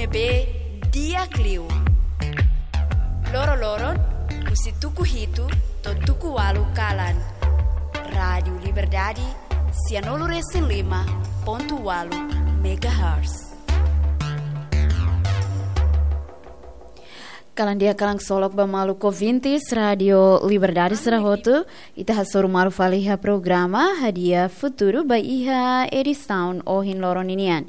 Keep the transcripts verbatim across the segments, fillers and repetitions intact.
Be di'ak liu. Loro-loron, husi tuku hitu to'o tuku ualu kalan. Rádiu Liberdade, sianulu resin lima pontu ualu megahertz. Kalan di'ak, kalan ksolok ba maluk ouvintes Rádiu Liberdade sira hotu, ita hasoru malu fali iha programa Hadi'a Futuru ba iha edisaun ohin loron ninian.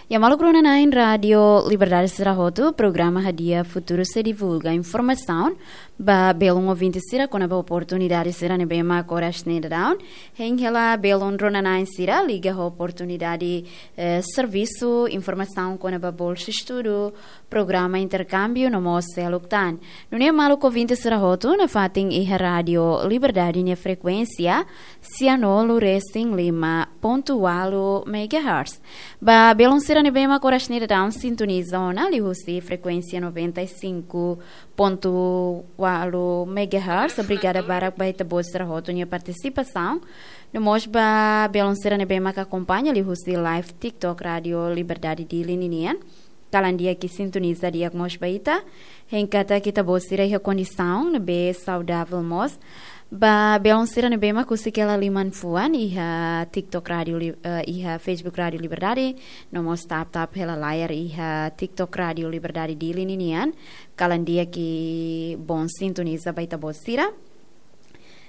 Ya maluk rona-na'in Rádiu Liberdade sira hotu, programa Hadi'a Futuru sei divulga informasaun ba belun ouvinte sira kona-ba oportunidade sira ne'ebé mak oras ne'e daudaun hein hela belun rona-na'in sira liga ho oportunidade, eh, servisu, informasaun kona-ba bolsa estudu, programa interkámbiu no mós seluk tan. Nune'e maluk ouvinte sira hotu, nafatin iha Rádiu Liberdade nia frekuénsia sianulu resin lima pontu ualu megahertz. Ba belun sira ne'ebé mak oras ne'e daudaun sintoniza ona liuhusi frekuénsia noventa e cinco ponto ualu megahertz, obrigada barak ba ita-boot sira hotu nia partisipasaun. No mós ba belun sira ne'ebé mak akompaña liuhusi live TikTok Rádiu Liberdade Dili ninian, kalan di'ak, sintoniza di'ak mós ba ita. Hein katak ita-boot sira iha kondisaun ne'ebé saudavel mós. Ba belun sira ne'ebé mak husik hela liman-fuan iha TikTok Rádiu Li-, eh, iha Facebook Rádiu Liberdade, no mós tap-tap hela layar iha TikTok Rádiu Liberdade Dili ninian, kalan di'ak, bom sintoniza ba ita-boot sira.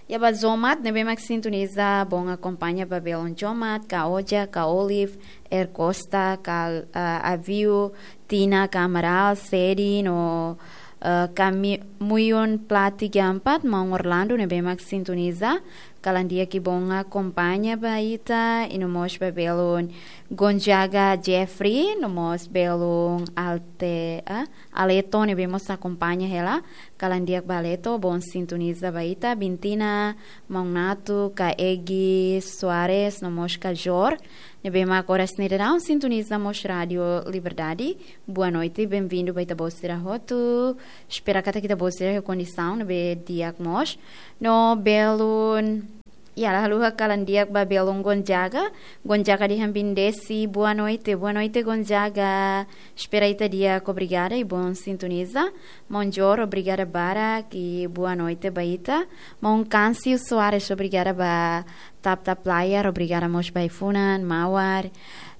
Ya ba Jomat ne'ebé mak sintoniza, bom akompaña ba belun Jomat, Ka Oja, Ka Olive, Er Costa, Ka, eh, Aviu, Tina, Ka Amaral, Sedi no, eh, Kami-, Muyun Plati Gampat, maun Orlando ne'ebé mak sintoniza, kalan di'ak, bom akompaña ba ita, i no mós ba belun Gonzaga Jeffrey, no mós belun Alte, ah, Aleto ne'ebé mós akompaña hela, kalan di'ak ba Aleto, bom sintoniza ba ita, Bintina, maun Natu, Ka Egi Soares, no mós Ka Jor, ne'ebé mak oras ne'e daudaun sintoniza mós Rádiu Liberdade. Boa noite, bem-vindo ba ita-boot sira hotu. Espera katak ita-boot sira iha kondisaun ne'ebé di'ak mós. No belun, ya, la haluha kalan di'ak ba belun Gonzaga. Gonzaga dehan Bindesi, boa noite, boa noite Gonzaga. Espera ita di'ak, obrigada i bom sintoniza. Maun Jor, obrigada barak i boa noite ba ita. Maun Câncio Soares, obrigada ba tap-tap layar, obrigada mós ba ai-funan, Mawar.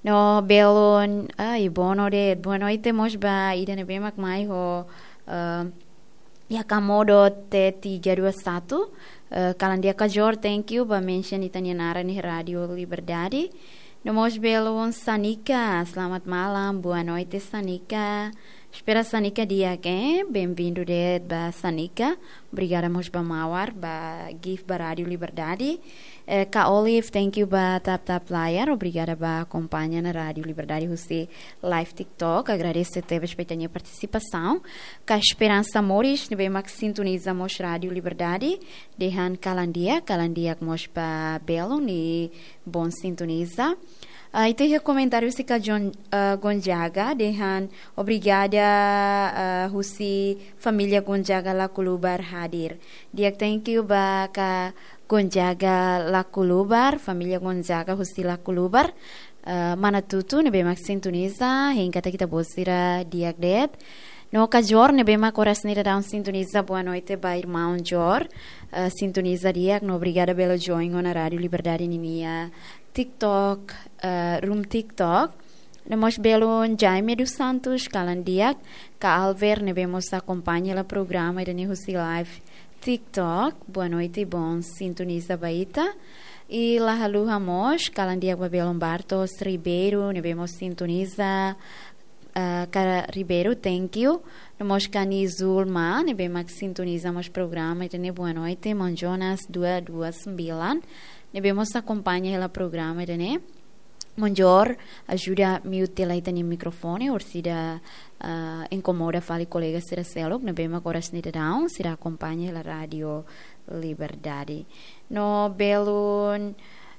No belun, ai, bono de, boa noite mós ba ida ne'ebé mak mai ho, eh, ya, Kamodo T tiga dua satu, eh, kalan di'ak Ka Jor, thank you ba mention ita-nia naran iha Rádiu Liberdade. No mós belun Sanika, selamat malam, boa noite Sanika. Espera Sanika di'ak, eh? Bem-vindo de'it ba Sanika. Obrigada mós ba Mawar, ba gift ba Rádiu Liberdade. Eh, Ka Olive, thank you ba tap-tap layar. Obrigada ba akompaña ona Rádiu Liberdade husi live TikTok. Agradese tebes ba ita-nia partisipasaun. Ka Esperança Moris, ne'ebé mak sintoniza mós Rádiu Liberdade, dehan kalan di'ak, kalan di'ak mós ba belun i bom sintoniza. Ah, ita iha komentáriu husi Ka Jon-, ah, Gonzaga, dehan obrigada, ah, husi família Gonzaga Lakulubar hadir. Di'ak, thank you ba Ka Gonzaga Lakulubar, família Gonzaga husi Lakulubar. Ah, mana Tutu ne'ebé mak sintoniza, hein katak ita-boot sira di'ak de'it. No Ka Jor ne'ebé mak oras ne'e daudaun sintoniza, boa noite ba irmaun Jor. Ah, sintoniza di'ak, no obrigada bele join ona Rádiu Liberdade ninia TikTok, eh, room TikTok. No mós belun Jaime dos Santos, kalan di'ak, Ka Alver ne'ebé mós akompaña hela programa ida-ne'e husi live TikTok. Boa noite, bom sintoniza ba ita. I la haluha mós, kalan di'ak ba belun Bartos Ribeiro, ne'ebé mós sintoniza, ah, Ka Ribeiro, thank you. No mós Ka Nizulma, ne'ebé mak sintoniza mós programa ida-ne'e, boa noite, maun Jonas dua dua sembilan, ne'ebé mós akompaña hela programa ida-ne'e. Maun Jor, ajuda mute hela ita-nia mikrofone, orsida, ah, inkomoda fali kolega sira seluk ne'ebé mak oras ne'e daudaun sira akompaña hela Rádiu Liberdade. No belun,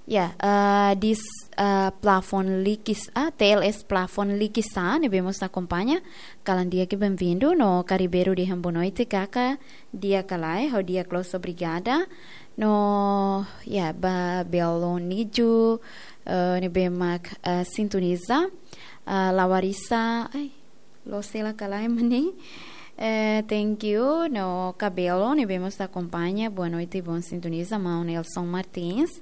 ya, ah, dis, ah, Plafon Likis, ah, T L S Plafon Likisá, ne'ebé mós akompaña, kalan di'ak, bem-vindo. No Ka Ribeiro dehan boa noite kaka, di'ak ka lae, ha'u di'ak loos, obrigada. No, ya, ba belun Niju, eh, ne'ebé mak, eh, sintoniza, eh, Lawarisa, ai, Loos hela ka lae, maun? Eh, thank you. No, Kabelo, ne'ebé mós akompaña. Boa noite, bom sintoniza, maun Nelson Martins.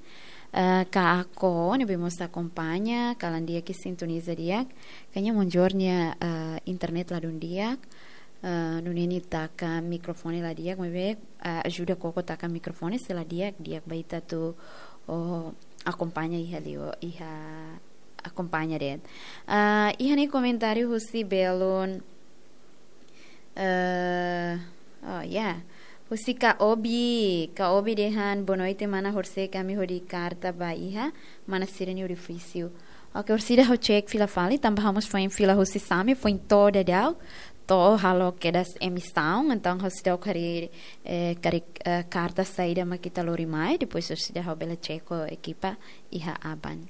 Eh, Kako, ne'ebé mós akompaña. Kalan di'ak, sintoniza di'ak. Kayaknya maun Jor nia, eh, internet ladún di'ak. Eh, nune'e nia taka mikrofone la di'ak, maibé, eh, ajuda koko taka mikrofone, se la di'ak, di'ak ba ita atu, oh, akompaña iha liu, iha akompaña de'it. Ah, iha ne'e komentáriu husi belun, eh, oh, ya. Husi Ka Obi, Ka Obi dehan, "Boa noite, mana, horisehik ami hodi karta ba iha, mana sira-nia edifísiu." Oke, orsida ha'u cek fila fali, tanba ha'u mós foin fila husi Same, foin to'o daudaun, to'o halo kedas emisaun, entaun ha'u seidauk haree, eh, karik, eh, karta saida mak ita lori mai, depois orsida ha'u bele cek ho ekipa iha aban.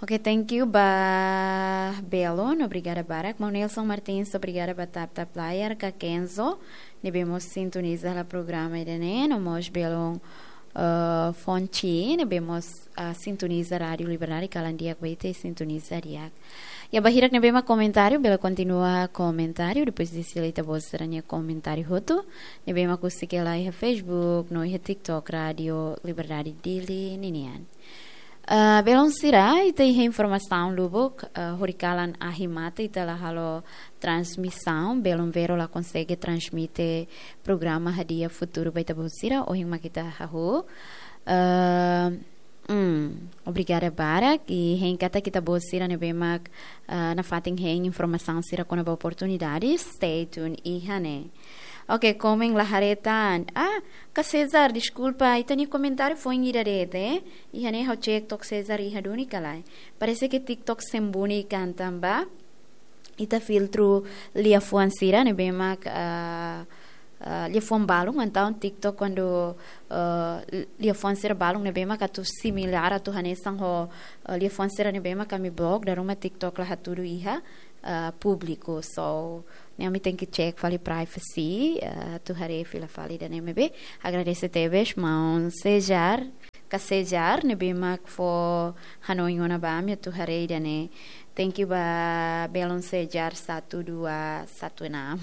Oke, thank you ba belun, obrigada barak. Maun Nelson Martins, obrigada ba tap tap layar, Ka Kenzo, ne'ebé mós sintoniza hela programa ida-ne'e, no mós belun, eh, Fonchi, ne'ebé mós, ah, sintoniza Rádiu Liberdade, kalan di'ak ba ita, sintoniza di'ak. Ya, ba hirak ne'ebé mak komentáriu, bele kontinua komentáriu, depois de sila ita-boot sira-nia komentáriu hotu, ne'ebé mak husik hela iha Facebook, no iha TikTok, Rádiu Liberdade Dili ninian. Ah, belun sira, ita iha informasaun lubuk, ah, horikalan ahi mate ita la halo transmisaun, belun Vero la konsege transmite programa Hadi'a Futuru ba ita-boot sira, ohin mak ita hahú. Ah, hmm, obrigada barak, i hein katak ita-boot sira ne'ebé mak, ah, nafatin hein informasaun sira kona-ba oportunidade, stay tuned iha ne'e. Oke, komen la haree tan. Ah, Ka Cesar, deskulpa, ita-nia komentáriu foin ida de'it, eh? Iha ne'e ha'u cek to'ok Cesar iha duni ka lae. Parese ke TikTok sembunyi kan tanba ita filtru liafuan sira ne'ebé mak, ah, ah, liafuan balun, entaun TikTok kuandu, ah, liafuan sira balun ne'ebé mak atu similár atu hanesan ho, ah, liafuan sira ne'ebé mak ami blok, dala ruma TikTok la hatudu iha, ah, públiku. So, ne'e ami tenke cek fali privacy, ah, atu haree fila fali ida-ne'e, maibé agradese tebes maun Cesar, Ka Cesar, ne'ebé mak fó hanoin ona ba ami atu haree ida-ne'e. Thank you ba belun Cesar satu dua satu enam.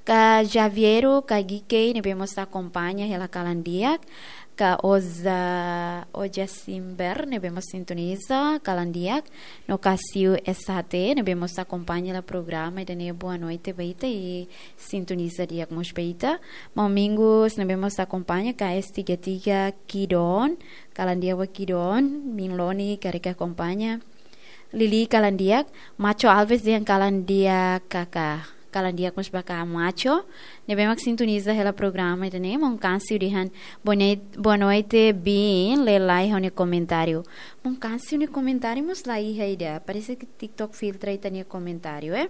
Ka Javiero, Ka Gikei, ne'ebé mós akompaña hela kalan di'ak. Ka Oza, Oja Simber, ne'ebé mós sintoniza kalan di'ak. No Ka Siu S H T, ne'ebé mós akompaña hela programa ida-ne'e, boa noite ba ita, i sintoniza di'ak mós ba ita. Maun Mingus, ne'ebé mós akompaña, Ka S tiga tiga, Kidon, kalan di'ak ba Kidon, Minloni, karik akompaña. Lili, kalan di'ak, Macho Alves dehan kalan di'ak kaka. Kalan di'ak mós ba Ka Macho, ne'ebé mak sintoniza hela programa ida-ne'e. Maun Kansiu dehan, "Boa noi-, boa noite, bin, lee lai ha'u-nia komentáriu." Maun Kansiu nia komentáriu mós la iha ida. Parese ke TikTok filtra ita-nia komentáriu, eh?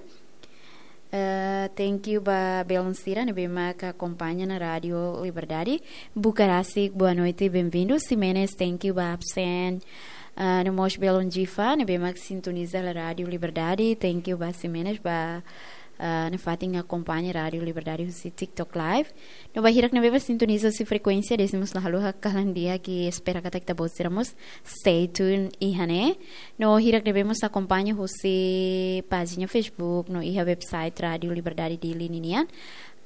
Eh, thank you ba belun sira ne'ebé mak akompaña ona Rádiu Liberdade. Bukarasik, boa noite, bem-vindo. Ximenes, thank you ba absen. Eh, no mós belun Jifa, ne'ebé mak sintoniza hela Rádiu Liberdade. Thank you ba Ximenes, ba, eh, nafatin akompaña Rádiu Liberdade husi TikTok Live. No ba hirak ne'ebé mak sintoniza husi frekuénsia, dezde mós la haluha kalan di'ak, i espera katak ita-boot sira mós stay tuned iha ne'e. No hirak ne'ebé mós akompaña husi pájina Facebook, no iha website Rádiu Liberdade Dili ninian.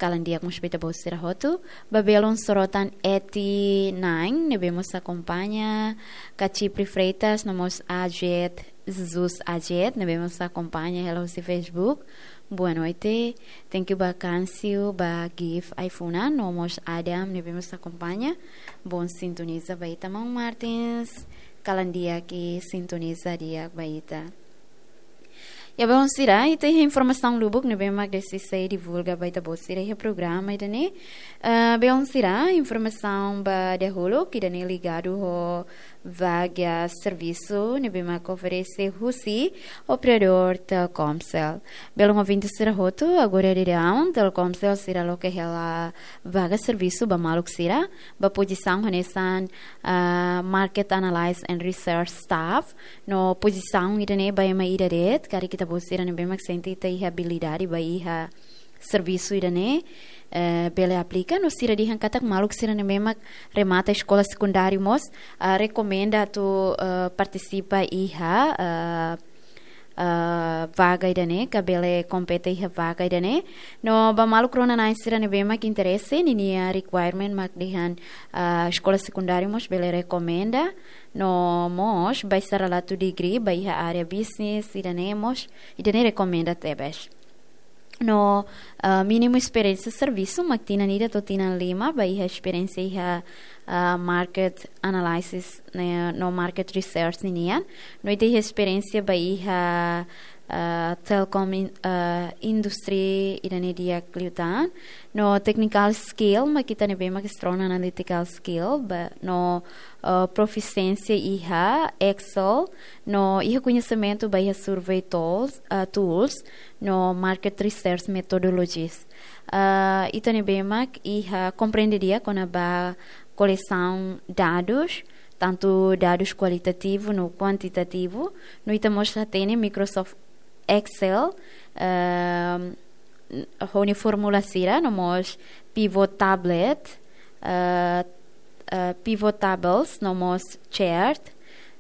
Kalan di'ak mós ba ita-boot sira hotu. Ba belun Sorotan eighty nine, ne'ebé mós akompaña. Ka Chipri Freitas, no mós Ajet, Jesus Ajet, ne'ebé mós akompaña hela husi Facebook. Boa noite. Thank you ba Kansiu, ba Gif Aifuna, no mós Adam, ne'ebé mós akompaña. Bom sintoniza ba ita, maun Martins. Kalan di'ak i sintoniza di'ak ba ita. Ya, belun sira, ita iha informasaun lubuk ne'ebé mak dezde sei divulga ba ita-boot sira iha programa ida-ne'e. Ah, belun sira, informasaun ba dahuluk ida-ne'e ligadu ho vaga servisu ne'ebé mak oferese husi operadór Telkomcel. Belun ouvinte sira hotu, agora daudaun Telkomcel sira loke hela vaga servisu ba maluk sira, ba pozisaun hanesan, ah, Market Analysis and Research Staff, no pozisaun ida-ne'e ba ema ida de'it, karik ita-boot sira ne'ebé mak sente ita iha abilidade ba iha servisu ida-ne'e, eh, bele aplika, no sira dehan katak maluk sira ne'ebé mak remata eskola sekundáriu mós, ah, rekomenda atu, eh, partisipa iha, eh, ah, vaga ida-ne'e, ka bele kompete iha vaga ida-ne'e. No ba maluk rona-na'in sira ne'ebé mak interese, ninia requirement mak dehan, ah, eskola sekundáriu mós bele rekomenda. No mós ba sira atu degree ba iha área business, ida-ne'e mós, ida-ne'e rekomenda tebes. No, ah, mínimu esperiénsia servisu mak tinan ida to'o tinan lima, ba iha esperiénsia iha, ah, market analysis, ne'e, no market research ninian. No ita iha esperiénsia ba iha, ah, telecom in-, ah, industry ida-ne'e di'ak liután. No technical skill mak ita ne'ebé mak strong analytical skill, ba, no, ah, profisiénsia iha Excel, no iha koñesimentu ba iha survey tools, ah, tools, no market research methodologies. Ah, ita ne'ebé mak iha komprende di'ak kona-ba kolesaun dadus, tantu dadus kualitativu no kuantitativu, no ita mós hatene Microsoft Excel, ehm, ho nia fórmula sira, no mós pivot tablet, eh, eh, pivot tables, no mós chart,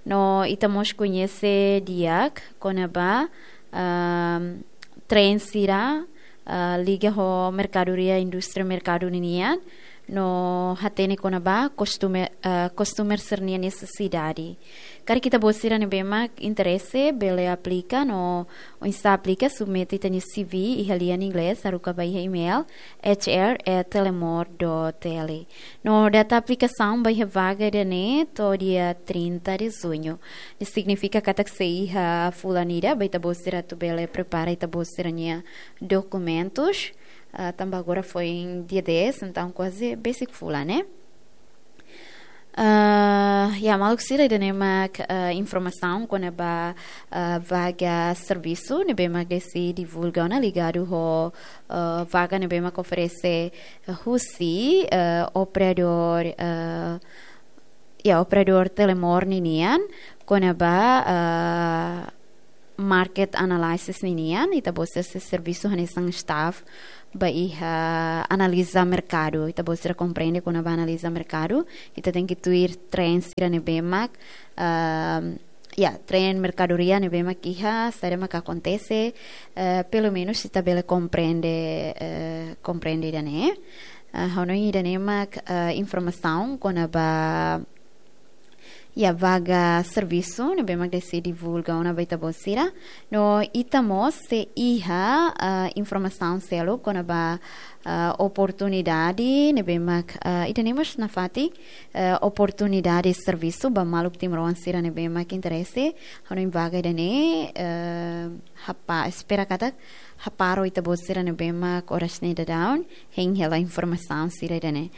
no ita mós koñese di'ak kona-ba, ehm, trend sira, eh, liga ho merkadoria, indústria merkadu ninian, no hatene kona-ba customer, eh, customer sira-nia nesesidade. Karik ita-boot sira ne'ebé mak interese, bele aplika, no oinsá aplika, submete ita-nia C V iha lian inglés, haruka ba iha email, H R at telemor dot T L. No data aplikasaun ba iha vaga ida-ne'e to'o dia trinta de junho. Ne'e signifika katak sei iha fulan ida, ba ita-boot sira atu bele prepara ita-boot sira-nia dokumentus. Ah, tanba agora foin dia dez, entaun kuaze besik fulan, ne'e? Ah, ya, maluk sira, ida-ne'e mak, ah, informasaun kona-ba, ah, vaga servisu ne'ebé mak Desi divulga ona ligadu ho, ah, vaga ne'ebé mak oferese, ah, husi, ah, operadór, ah, ya, operadór Telemor ninian, kona-ba, ah, market analysis ninian, ita-boot sira sei servisu hanesan staff ba iha analiza merkadu. Ita-boot sira komprende kona-ba analiza merkadu, ita tenke tuir trend sira ne'ebé mak, ah, ya, trend merkadoria ne'ebé mak iha, saida mak akontese, eh, pelumenus ita bele komprende, eh, komprende ida-ne'e. Eh, ha'u hanoin ida-ne'e mak, eh, informasaun kona-ba, ya, vaga servisu ne'ebé mak Desi divulga ona ba ita-boot sira. No ita mós sei iha, eh, informasaun seluk kona-ba, eh, oportunidade ne'ebé mak, eh, ida-ne'e mós nafatin, eh, oportunidade servisu ba maluk timoroan sira ne'ebé mak interese. Ha'u hanoin vaga ida-ne'e, eh, hapa-, espera katak hapara ita-boot sira ne'ebé mak oras ne'e daudaun hein hela informasaun sira ida-ne'e.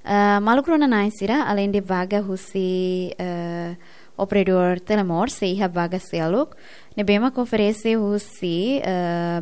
Eh, maluk rona-na'in sira, aleinde vaga husi, eh, operadór Telemor, sei iha vaga seluk ne'ebé mak oferese husi, eh,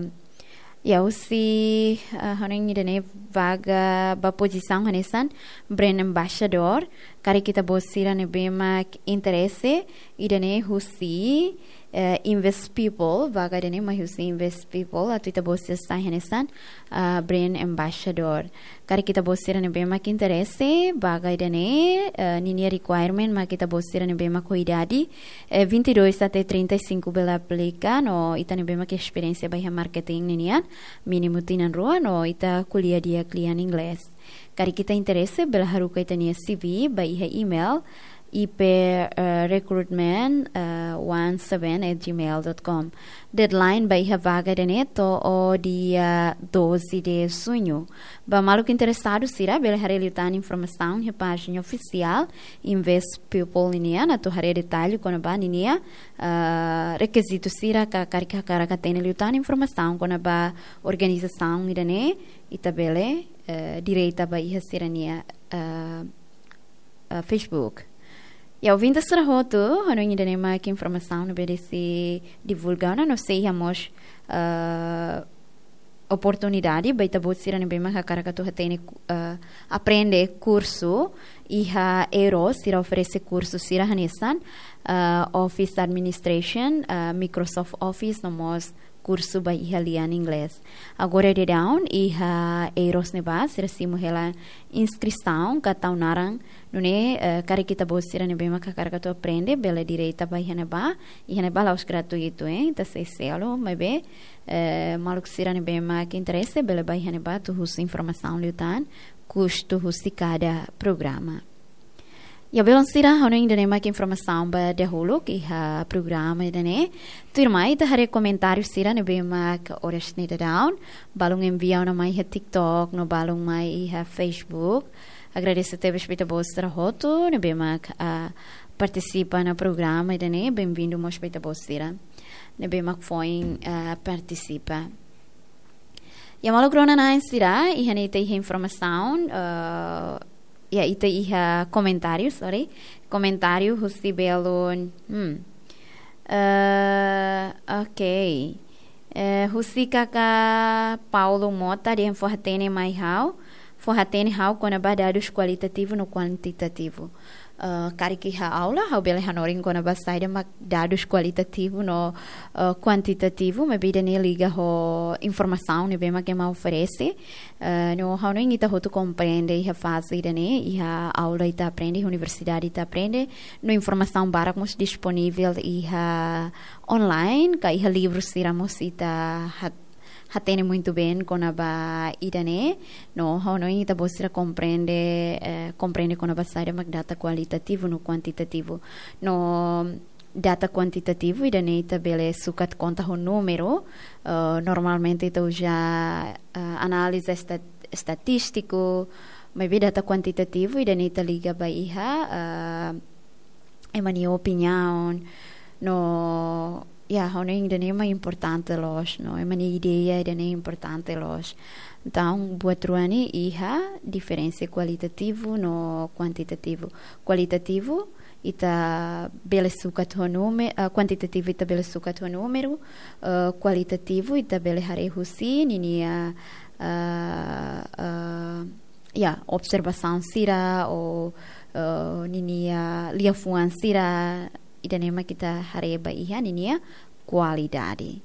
ya, husi, eh, ha'u hanoin ida-ne'e vaga ba pozisaun hanesan brand ambassador. Karik ita-boot sira ne'ebé mak interese, ida-ne'e husi, eh, Invest People, vaga ida-ne'e mai husi Invest People, atu ita-boot sira sai hanesan, ah, brand ambassador. Karik ita-boot sira ne'ebé mak interese, vaga ida-ne'e, eh, ninia requirement mak ita-boot sira ne'ebé mak ho idade, eh, vinte e dois até trinta e cinco bele aplika, no ita ne'ebé mak esperiénsia ba iha marketing ninian, mínimu tinan rua, no ita ko'alia di'ak lian inglés. Karik ita interese, bele haruka ita-nia C V ba iha email, I P, eh, recruitment, eh, one seven at gmail dot com. Deadline ba iha vaga ida-ne'e to'o dia doze de junho. Ba maluk interesadu sira, bele haree liután informasaun iha pájina ofisiál Invest People ninian, atu haree detalle kona-ba ninia, eh, rekizitu sira ka karik hakarak hatene liután informasaun kona-ba organizasaun ida-ne'e, ita bele, eh, direta ba iha sira-nia, eh, eh, Facebook. Ya, ouvinte sira hotu, ha'u hanoin ida-ne'e mak informasaun ne'ebé Desi divulga ona, no sei iha mós, eh, oportunidade ba ita-boot sira ne'ebé mak hakarak atu hatene ku-, eh, aprende kursu iha Euro, sira oferese kursu sira hanesan, eh, Office Administration, eh, Microsoft Office, no mós kursu ba iha lian inglés. Agora daudaun iha Eiros ne'ebá, sira simu hela inskrisaun ka tau naran, nune'e, eh, karik ita-boot sira ne'ebé mak hakarak atu aprende, bele direta ba iha ne'ebá, iha ne'ebá la'ós gratuitu, eh, ita sei selu, maibé, eh, maluk sira ne'ebé mak interese, bele ba iha ne'ebá atu husu informasaun liután, kustu husi kada programa. Ya, belun sira, ha'u hanoin ida-ne'e mak informasaun ba dahuluk iha programa ida-ne'e. Tuirmai ita haree komentáriu sira ne'ebé mak oras ne'e daudaun. Balun envia ona mai iha TikTok, no balun mai iha Facebook. Agradese tebes ba ita-boot sira hotu ne'ebé mak, ah, partisipa iha programa ida-ne'e. Benvindu mós ba ita-boot sira ne'ebé mak foin, ah, partisipa. Ya, maluk rona-na'in sira, iha ne'e ita iha informasaun, eh, ya, ita iha komentáriu, sorry. Komentáriu husi belun, hmm. Eh, oke. Eh, husi kaka Paulo Mota, dehan fó-hatene mai ha'u, fó-hatene ha'u kona-ba dadus kualitativu no kuantitativu. Eh, karik iha aula, ha'u bele hanorin kona-ba saida mak dadus kualitativu no, eh, kuantitativu, maibé ida-ne'e liga ho informasaun ne'ebé mak ema oferese. Eh, no ha'u hanoin ita hotu komprende iha faze ida-ne'e, iha aula ita aprende, iha universidade ita aprende, no informasaun barak mós disponivel iha online, ka iha livru sira mós ita hat-, hatene muitu bem kona-ba ida-ne'e, no ha'u hanoin ita-boot sira komprende, eh, komprende kona-ba saida mak data kualitativu no kuantitativu. No data kuantitativu, ida-ne'e ita bele sukat konta ho númeru, eh, normalmente ita uza, eh, análize estat-, estatístiku, maibé data kuantitativu, ida-ne'e ita liga ba iha, eh, ema nia opiniaun, no, ya, ha'u hanoin ida-ne'e mak importante loos, no, ema nia ideia ida-ne'e importante loos. Entaun, buat rua ne'e iha diferensa kualitativu no kuantitativu. Kualitativu, ita bele sukat ho núme-, ah, kuantitativu ita bele sukat ho númeru, eh, kualitativu ita bele haree husi ninia, ah, ah, ya, observasaun sira ou, eh, ninia liafuan sira, ida-ne'e mak ita haree ba iha ninia kualidade.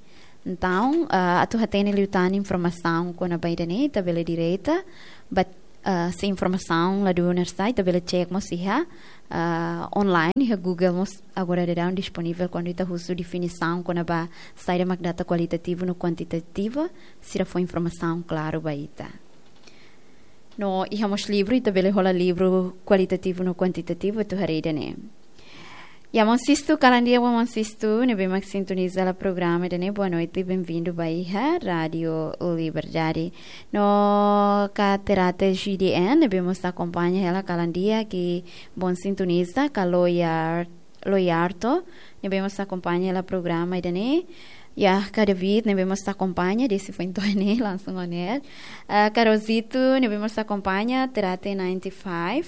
Entaun, eh, atu hatene liután informasaun kona-ba ida-ne'e, ita bele direta, but, eh, se informasaun la dún oinsá, ita bele cek mós iha, eh, online, iha Google mós agora daudaun disponivel kuandu ita husu definisaun kona-ba saida mak data kualitativu no kuantitativu, sira fó informasaun klaru ba ita. No iha mós livru, ita bele hola livru kualitativu no kuantitativu, atu haree ida-ne'e. Ya, maun Sisto, kalan di'ak ba maun Sisto, ne'ebé mak sintoniza hela programa ida-ne'e, boa noite, benvindu ba iha Rádio Liberdade. No ka Terate G D N, ne'ebé mós akompaña hela, kalan di'ak, i bom sintonizadór, ka Loyar Loyarto, ne'ebé mós akompaña hela programa ida-ne'e. Ya, ka David, ne'ebé mós akompaña, desi foin to'o ne'e, langsung on air. Ah, ka Rosito, ne'ebé mós akompaña, Terate ninety five.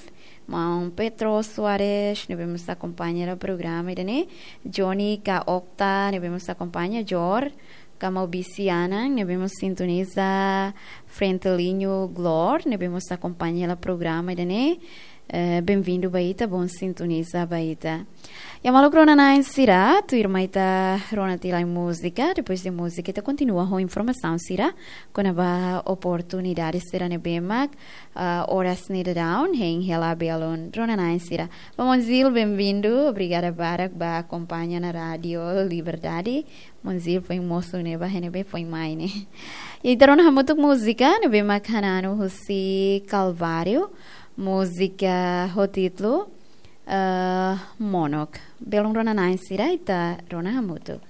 Maun Petro Soares, ne'ebé mós akompaña hela programa ida-ne'e. Johnny, ka Okta, ne'ebé mós akompaña, Jor, ka Maubisi Anan, ne'ebé mós sintoniza, Frentelinho Glor, ne'ebé mós akompaña hela programa ida-ne'e. Eh, benvindu ba ita, bom sintoniza ba ita. Ya, maluk rona-na'in sira, tuirmai ita rona tiha lai múzika, depois de múzika ita kontinua ho informasaun sira kona-ba oportunidade sira ne'ebé mak, ah, oras ne'e daudaun hein hela belun rona-na'in sira. Ba maun Zil, benvindu, obrigada barak ba akompaña ona Rádio Liberdade. Maun Zil foin mosu ne'e ba, ne'ebé foin mai ne'e. Ita rona hamutuk múzika ne'ebé mak hananu husi Calvário, múzika ho títulu, eh, Monok. Belun rona-na'in sira, ita rona hamutuk.